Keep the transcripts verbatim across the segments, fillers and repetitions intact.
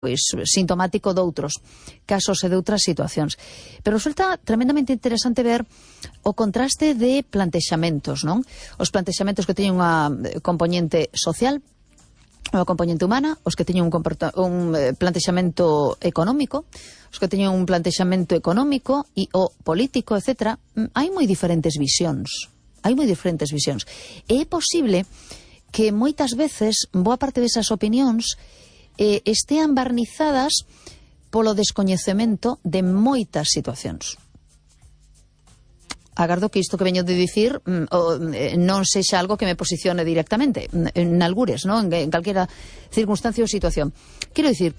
pois sintomático doutros casos e de outras situacións. Pero resulta tremendamente interesante ver o contraste de plantexamentos, non? Os plantexamentos que teñen unha componente social, unha componente humana, os que teñen un, un plantexamento económico, os que teñen un plantexamento económico e o político, etcétera. Hai moi diferentes visións. Hai moi diferentes visións. E é posible que moitas veces boa parte desas opinións eh, estean barnizadas polo descoñecemento de moitas situacións. Agardo que isto que veño de dicir mm, o, eh, non sexa algo que me posicione directamente en algures, ¿no? en, en calquera circunstancia ou situación. Quero dicir,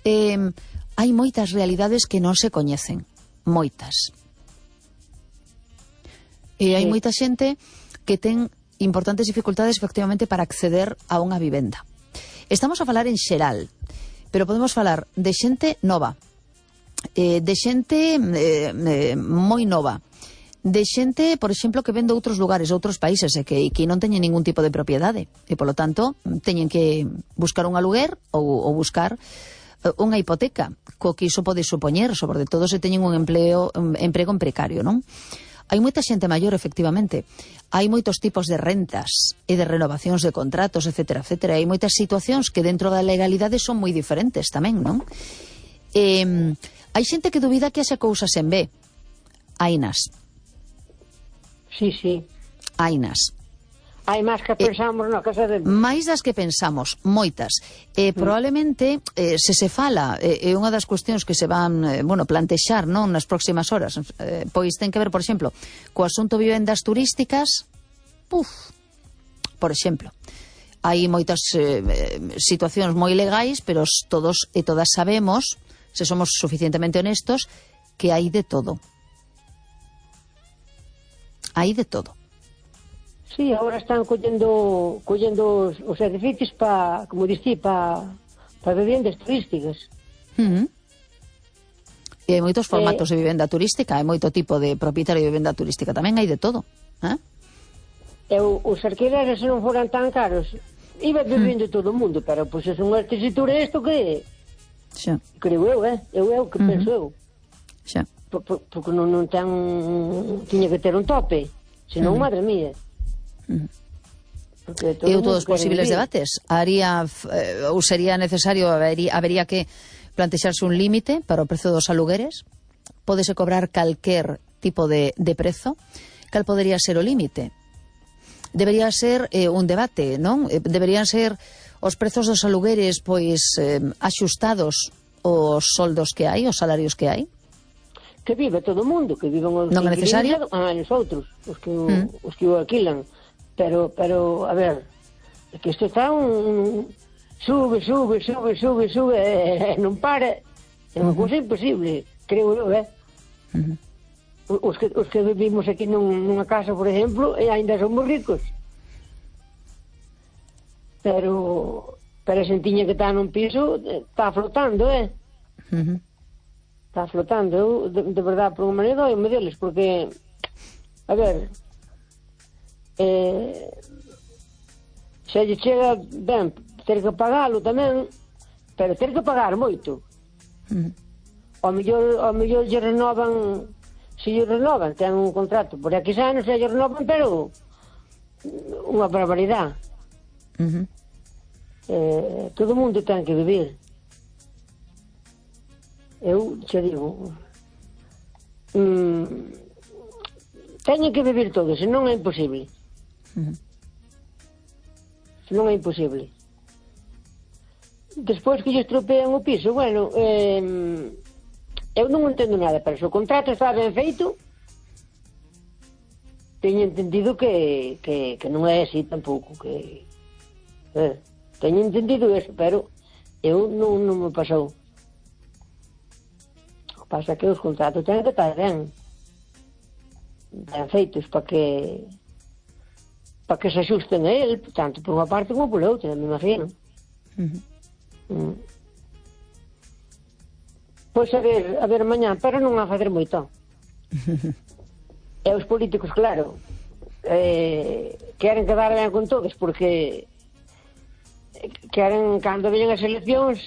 eh, hai moitas realidades que non se coñecen, moitas. E hai sí. moita xente que ten importantes dificultades efectivamente para acceder a unha vivenda. Estamos a falar en xeral, pero podemos falar de xente nova, eh, de xente eh, eh, moi nova, de xente, por exemplo, que ven de outros lugares, outros países, e que, que non teñen ningún tipo de propiedade, e polo tanto teñen que buscar un aluguer ou, ou buscar unha hipoteca, co que iso pode supoñer, sobre todo se teñen un empleo, un emprego en precario, non? Hai moita xente maior, efectivamente. Hai moitos tipos de rentas e de renovacións de contratos, etcétera, etcétera. Hai moitas situacións que dentro da legalidade son moi diferentes tamén, non? Eh, hai xente que dubida que haxa cousas en B. Hainas. Sí, sí. Hainas. Hai máis que pensamos, eh, no, que sabemos. Mais das que pensamos, moitas. Eh, probablemente, eh, se se fala, é eh, unha das cuestións que se van, eh, bueno, plantexar, non, nas próximas horas, eh, pois ten que ver, por exemplo, co asunto vivendas turísticas, puf, por exemplo, hai moitas eh, situacións moi legais, pero todos e todas sabemos, se somos suficientemente honestos, que hai de todo. Hai de todo. Sí, agora están collendo collendo os, os edificios para, como dixí, para pa vivendas turísticas. Uh -huh. E hai moitos formatos eh, de vivenda turística, hai moito tipo de propietario de vivenda turística, tamén hai de todo. Eh? E o, os alquileres, se non foran tan caros, iba vivindo uh -huh. todo o mundo, pero pois pues, é unha tesitura isto que xa. Creo eu, eh? Eu é o que uh -huh. penso eu. Xa. Por, por, porque non, non ten, tiña que ter un tope, senón, uh -huh. madre mía. E todos os posibles debates haría, eh, ou sería necesario, habería, habería que plantexarse un límite para o prezo dos alugueres. Pódese cobrar calquer tipo de, de prezo. Cal podería ser o límite? Debería ser eh, un debate, non? Deberían ser os prezos dos alugueres pois eh, axustados aos soldos que hai, os salarios que hai. Que vive todo o mundo, que viven os non é necesario? Ah, os outros, os que, mm. os que o alquilan. Pero, pero, a ver, é que isto está un... Sube, sube, sube, sube, sube, e non para. É unha cousa imposible, creo eu, eh? Uh -huh. Os que, os que vivimos aquí nun, nunha casa, por exemplo, e ainda somos ricos. Pero, pero a xentiña que está nun piso está flotando, eh? Uh -huh. Está flotando. Eu, de, de verdade, por unha maneira, doime deles, porque, a ver... Eh, se lle chega ben ter que pagalo tamén, pero ter que pagar moito. Mm. Ao mellor, ao mellor lle renovan, se lle renovan, ten un contrato por X anos, se lle renovan, pero unha barbaridade. Mm -hmm. eh, todo o mundo ten que vivir. Eu che digo, mm, teñen que vivir todos, senón é imposible. Uh -huh. Non é imposible. Despois que lle estropean o piso, bueno, eh, eu non entendo nada, pero se o contrato está ben feito, teño entendido que, que, que non é así tampouco, que eh, teño entendido eso, pero eu non, non me pasou. O que pasa é que os contratos teñen que estar ben ben feitos para que para que se axusten a él, tanto por unha parte como por outra, me imagino. Uh -huh. mm. Pois a ver, a ver mañá, pero non a facer moito. E os políticos, claro, eh, queren quedar ben con todos, porque queren, cando veñen as eleccións,